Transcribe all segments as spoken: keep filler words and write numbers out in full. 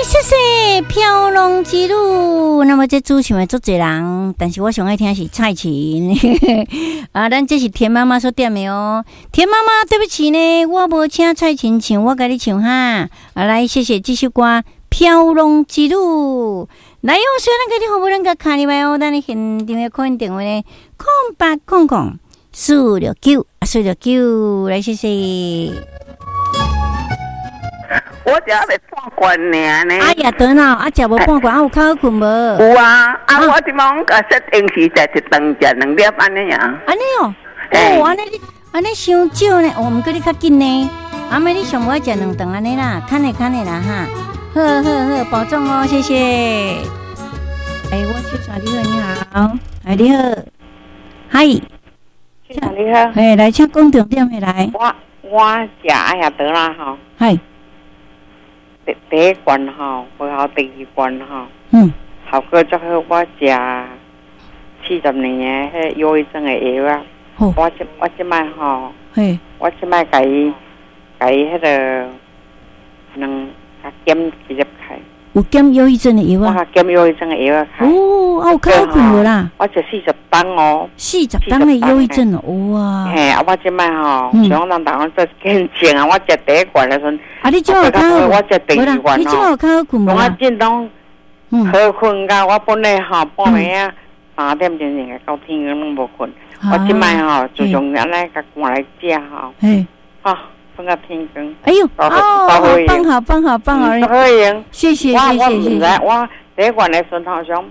謝謝飄浪之旅。那麼這主唱的足濟人，但是我上愛聽是蔡琴。啊，咱這是田媽媽所點的哦。田媽媽，對不起呢，我無請蔡琴唱，我共你唱哈。啊，來，謝謝這首歌《飄浪之旅》。來哦，雖然給你服務咱個卡入來哦，咱的現場的 call in 電話呢，空八空空四六九四六九，來謝謝。我食未半罐爾呢。哎呀，等啊，啊，食無半罐，啊有較好睏無？有啊，啊，我這擺講共設定時食一頓食兩粒按呢爾。按呢哦，哦，按呢你按呢傷少呢，哦，毋過你較緊呢。阿妹你上無愛食兩頓按呢啦，較呢較呢啦哈。好好好，保重哦，謝謝。哎，我秀莎你好，你好，哎你好，嗨，秀莎你好，嘿，來請講重點的來。我我食愛亞得啦吼。嗨。第第一罐吼，過後第二罐吼，嗯，效果足好。我食四十年的彼憂鬱症的藥啊，我這我這擺吼，嘿，我這擺共伊共伊彼个兩減一粒開。有減憂鬱症的藥啊？我減憂鬱症的藥啊。哦，啊有較好睏無啦？我食四十冬哦。四十冬的憂鬱症哦，哇！嘿，啊，我這擺吼，像人逐個做見證啊，我食第一罐的時陣。啊，你這有較好？我食第二罐你這有較好睏無？我真當好睏甲，我本來吼半暝啊三點鐘就到天光攏無睏。我這擺吼自從按呢共換來食吼，嘿，啊，睏到天光。哎呦，哦，好棒好棒好棒好，好用，謝謝謝謝謝謝。我第一罐的時陣好像，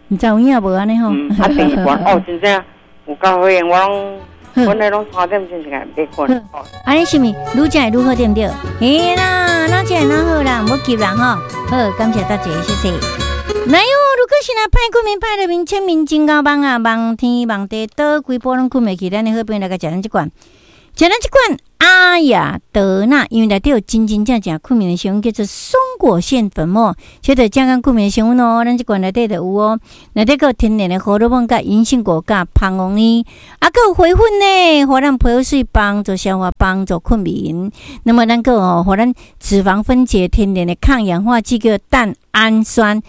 毋知有影無按呢吼？啊，第二罐哦，真正有夠好用，我攏。本來攏三點鐘就會睏。按呢是毋愈食會愈好對毋對？嘿啦，哪食會哪好啦，毋好急啦吼。好，感謝大家，謝謝。來喲，如果是若歹睏眠歹入眠，淺眠真𠢕夢啊，夢天夢地倒規晡攏睏袂去，咱的好朋友來共食咱這罐，食咱這罐阿雅德娜，因為內底有真真正正睏眠的成分，叫做松果腺粉末，這就正講睏眠的成分哦。咱這罐內底就有哦，內底閣有天然的胡蘿蔔、佮銀杏果、佮蜂王乳，啊，閣有花粉呢，予咱皮膚媠，幫助消化，幫助睏眠。那麼咱閣哦，予咱脂肪分解天然的抗氧化劑叫蛋氨酸。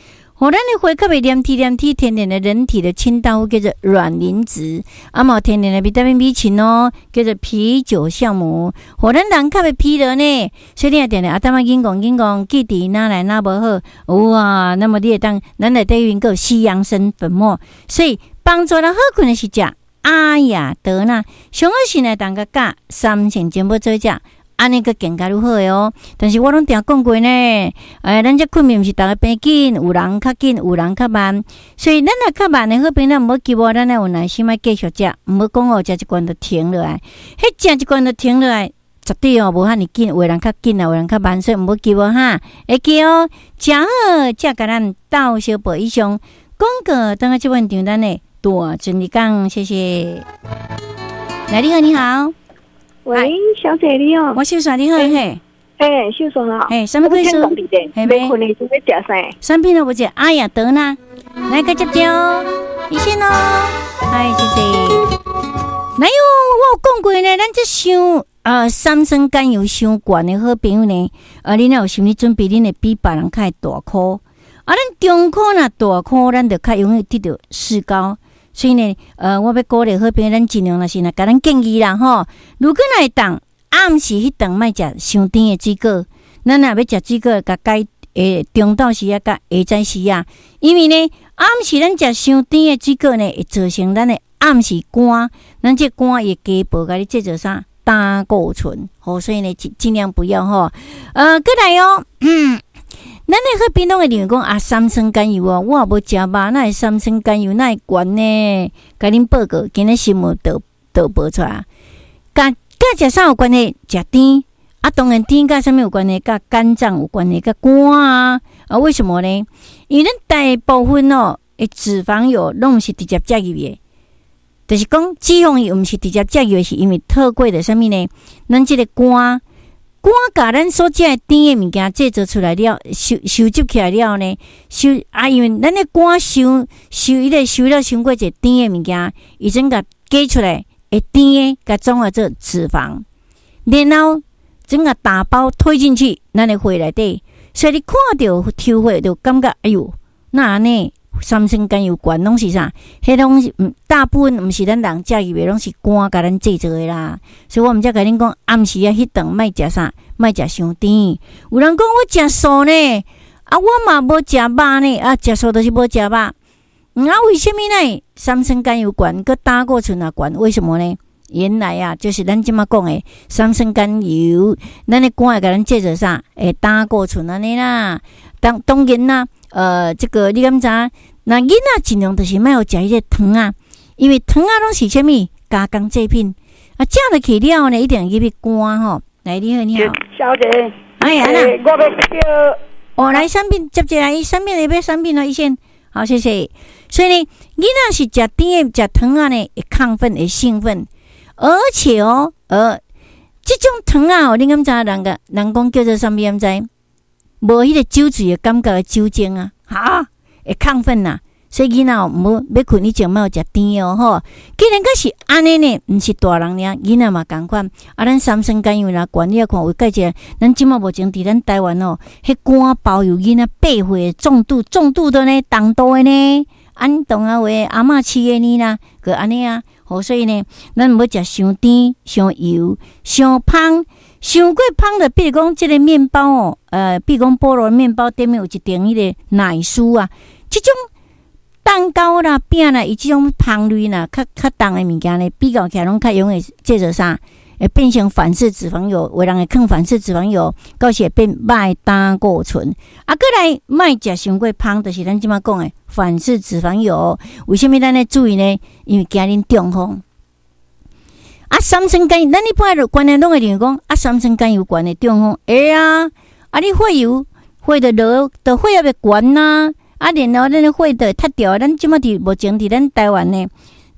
予咱的血較袂黏貼黏貼，天然的人體的清道夫叫做卵磷脂，啊嘛天然的維他命 B 群哦，叫做啤酒酵母，予咱人較袂疲勞呢。所以你也定定阿淡仔緊戇緊戇，記憶哪來哪無好，哇！那麼你會當咱內底閣有西洋參粉末，所以幫助咱好睏的是食阿雅德娜，上好是呢，當個佮三星全部做食。按呢閣更加愈好的哦，但是我攏定講過呢，哎，咱這睏眠毋是逐个平緊，有人較緊，有人較慢，所以咱若較慢的好朋友，毋好急哦，咱愛有耐心愛繼續食，毋好講哦，食一罐就停落來，彼食一罐就停落來，絕對哦無遐爾緊，有的人較緊啊，有的人較慢，所以毋好急哦哈，會記哦，食好，才共咱鬥相報以上廣告，等下這份訂單的大真理講，謝謝。來，你好，你好。喂，小姐你好。我秀莎你好，嘿。欸，秀莎啊。嘿，啥物意思？嘿，欲睏的時欲食啥？啥品攏無食，阿雅德娜，來個接招，醫生哦。哎，謝謝。來喲，我有講過呢，咱這傷呃三酸甘油傷懸的好朋友呢，啊，你若有心理準備，恁會比別人較會大箍。啊，咱中箍若大箍，咱就較容易得著石膏。所以呢，呃，我欲鼓勵好朋友，咱盡量若是若共咱建議啦吼。如果若會當暗時彼頓莫食傷甜的水果，咱若欲食水果，共改欸中晝時啊，佮下早時啊，因為呢，暗時咱食傷甜的水果呢，會造成咱的暗時肝，咱這肝會加薄，共你製造啥膽固醇，吼，所以呢，盡盡量不要吼。呃，閣來哦，嗯。咱的好朋友攏會認為講啊，三酸甘油哦，我也無食肉，哪會三酸甘油哪會懸呢？共恁報告，今日新聞都都報出來，佮佮食啥有關係？食甜啊，當然甜佮啥物有關係？佮肝臟有關係，佮肝啊啊？為什麼呢？因為咱大部分哦，的脂肪油攏毋是直接食入去的，就是講脂肪油毋是直接食入去，是因為透過著啥物呢？咱這個肝。肝共咱所食的甜的物件製造出來了，收收集起來了呢，收啊，因為咱的肝收收伊個收了傷過濟甜的物件，伊整共解出來會甜的，共轉化做脂肪，然後整個打包推進去咱的血內底，所以你看著抽血就感覺，哎喲，哪按呢？三酸甘油懸攏是啥？彼攏是毋大部分毋是咱人食入的，攏是肝共咱製造的啦。所以我毋才共恁講，暗時仔彼頓莫食啥，莫食傷甜。有人講我食素呢，啊，我嘛無食肉呢，啊，食素就是無食肉。嗯，啊，為啥物呢？三酸甘油懸，閣膽固醇也懸，為什麼呢？原來啊，就是咱這馬講的三酸甘油，咱的肝會共咱製造啥？會膽固醇按呢啦。當當然啦，呃，這個你敢知？那囡仔盡量就是莫予食彼個糖仔，因為糖仔攏是啥物加工製品啊，食落去了呢，一定入去肝吼。來，你好，你好，小姐，哎呀，欸，我欲叫哦，來產品接一下，伊產品會欲產品啊，醫生，好，謝謝。所以呢，囡仔是食甜的、食糖仔呢，會亢奮、會興奮，而且哦，呃，這種糖仔哦，你敢知人個人講叫做啥物？敢知？無彼個酒醉的感覺的酒精啊，哈，會亢奮呐。所以囡仔毋好欲睏以前莫予食甜哦吼。既然閣是按呢呢，毋是大人爾，囡仔嘛仝款。啊，咱三酸甘油若懸，你也看有介濟，咱這馬目前佇咱台灣哦，彼肝包有囡仔八歲重度重度的呢，重度的呢，按懂啊話阿嬤飼的呢啦，閣按呢啊。好，所以呢，咱毋好食傷甜、傷油、傷芳。傷過芳的，比如講這個麵包哦，呃，比如講菠蘿麵包頂面有一層彼個奶酥啊，這種蛋糕啦、餅啦，伊這種芳類啦，較較重的物件呢，比較起來攏較容易製造啥？會變成反式脂肪油，有人會囥反式脂肪油，到時會變歹膽固醇。啊，閣來莫食傷過芳，就是咱這馬講的反式脂肪油。為啥物咱咧注意呢？因為驚恁中風。啊，三酸甘油，咱一般觀念攏會認為講，啊，三酸甘油懸會中風，會啊，啊，你血油血就落，就血壓會懸啊，啊，然後咱的血就會塞著。咱這馬佇目前佇咱台灣呢，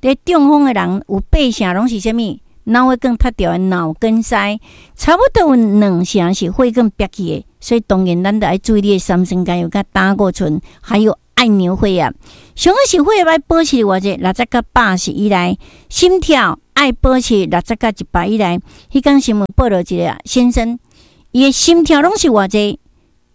佇中風的人有八成攏是啥物？腦血管塞著的腦梗塞，差不多有兩成是血管煏去的，所以當然咱著愛注意你的三酸甘油佮膽固醇，還有按鈕血壓。上好是血壓愛保持偌濟，六十佮八十以內，心跳愛保持六十佮一百以內。彼工新聞報導一個先生，伊的心跳攏是偌濟，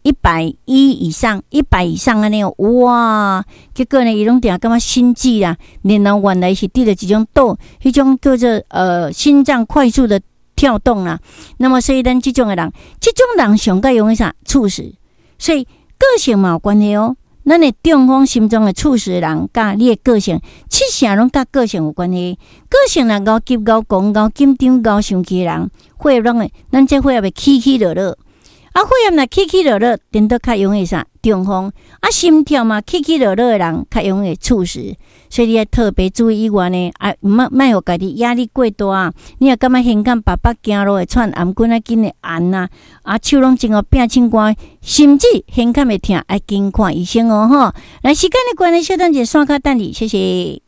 一百一以上，一百以上按呢，哇！結果呢，伊攏定感覺心悸啦，然後原來是得著一種倒，彼種叫做呃心臟快速的跳動啦。那麼所以咱這種的人，這種人上蓋容易啥猝死，所以個性嘛有關係哦。咱的中風心臟的猝死的人，佮你的個性，七成攏佮個性有關係。個性若𠢕急、𠢕狂、𠢕緊張、𠢕生氣的人，血壓攏會，咱這血壓會起起落落。啊，血壓若起起落落，顛倒較容易啥中風。啊，心跳嘛起起落落的人，較容易猝死。所以你愛特別注意以外呢，啊，莫莫予家己壓力過大。你若感覺胸間腹腹行路會喘，頷頸仔緊會絚啊，啊，手攏真予拚凊汗，甚至胸坎會疼，愛緊看醫生哦吼。來，時間的關係，小等一下，線卡等你，謝謝。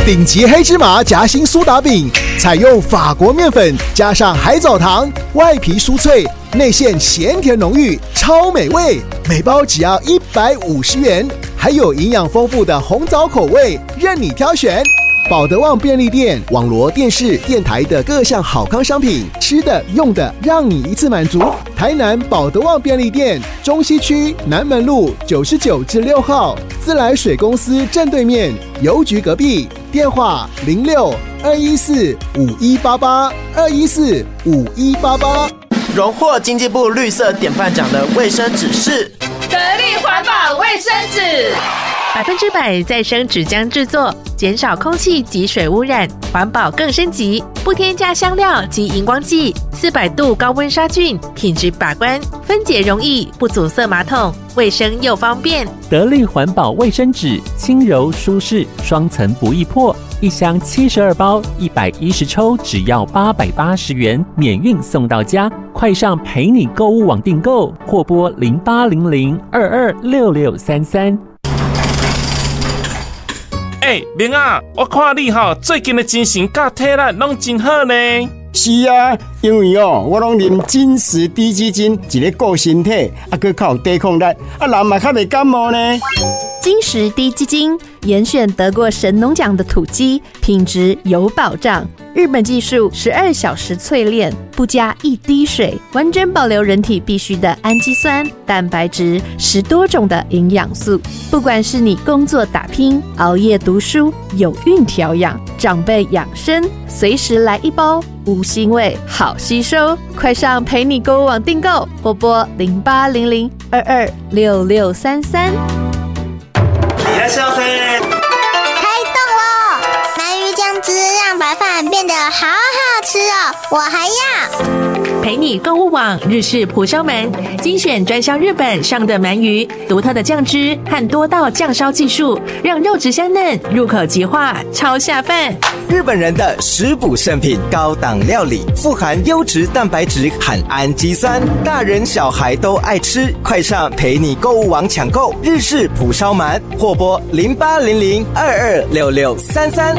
頂級黑芝麻夾心蘇打餅，採用法國麵粉加上海藻糖，外皮酥脆，內餡鹹甜濃郁，超美味。每包只要一百五十元，還有營養豐富的紅棗口味，任你挑選。寶德旺便利店、網羅電視、電台的各項好康商品，吃的、用的，讓你一次滿足。台南寶德旺便利店，中西區南門路九十九至六號，自來水公司正對面，郵局隔壁。電話零六二一四五一八八二一四五一八八。榮獲經濟部綠色典範獎的衛生紙是得力環保衛生紙，百分之百再生紙漿製作，減少空氣及水污染，環保更升級。不添加香料及熒光劑，四百度高溫殺菌，品質把關，分解容易，不阻塞馬桶，衛生又方便。得力環保衛生紙，輕柔舒適，雙層不易破，一箱七十二包，一百一十抽，只要八百八十元，免運送到家。快上陪你購物網訂購，或撥零八零零二二六六三三。欸，明仔，我看你吼最近的精神佮體力攏真好呢。是啊，因為哦，我攏啉金石滴雞精，一個顧身體，啊，閣較有抵抗力，啊，人嘛較袂感冒呢。金金石滴鸡精，严选得过神农奖的土鸡，品质有保障。日本技术十二小时淬炼，不加一滴水，完整保留人体必需的氨基酸、蛋白质十多种的营养素。不管是你工作打拼、熬夜读书、有孕调养、长辈养生，随时来一包，无腥味，好吸收。快上陪你购物网订购，或拨零八零零二二六六三三。いらっしゃいませ。开动喽！鳗鱼酱汁让白饭变得好好吃哦，我还要。陪你购物网日式蒲烧鳗，精选专销日本上等鳗鱼，独特的酱汁和多道酱烧技术，让肉质香嫩，入口即化，超下饭。日本人的食补圣品，高档料理，富含优质蛋白质和氨基酸，大人小孩都爱吃。快上陪你购物网抢购日式蒲烧鳗，或拨零八零零二二六六三三。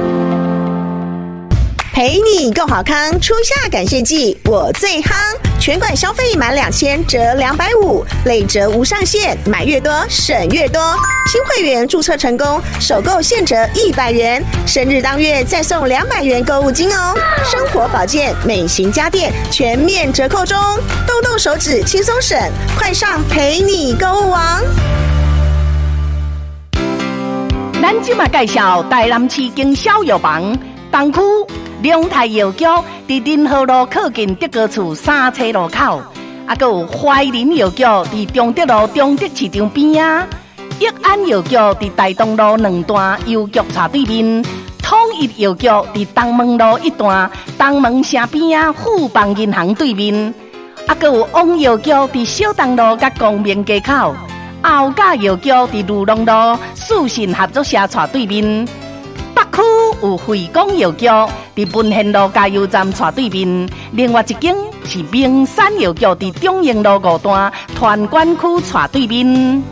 陪你购好康，初夏感谢季，我最夯！全馆消费满两千折两百五，累折无上限，买越多省越多。新会员注册成功，首购现折一百元，生日当月再送两百元购物金哦。生活保健、美型家电全面折扣中，动动手指轻松省，快上陪你购物网！咱这马介绍台南市经销药房东区龙泰药局，伫仁和路靠近德高厝三车路口，啊，阁有怀仁药局伫中德路中德市场边仔，益安药局伫大东路两段邮局斜对面，统一药局伫东门路一段东门城边仔富邦银行对面，啊，阁有王药局伫小东路佮光明街口，后甲药局伫裕隆路四信合作社斜对面。北区有惠光药局，伫文献路加油站斜对面；另外一间是明山药局，伫中营路五段团管区斜对面。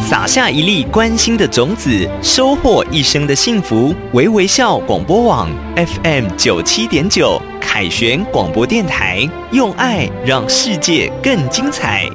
撒下一粒关心的种子，收获一生的幸福。微微笑广播网 F M 九七点九，凯旋广播电台，用爱让世界更精彩。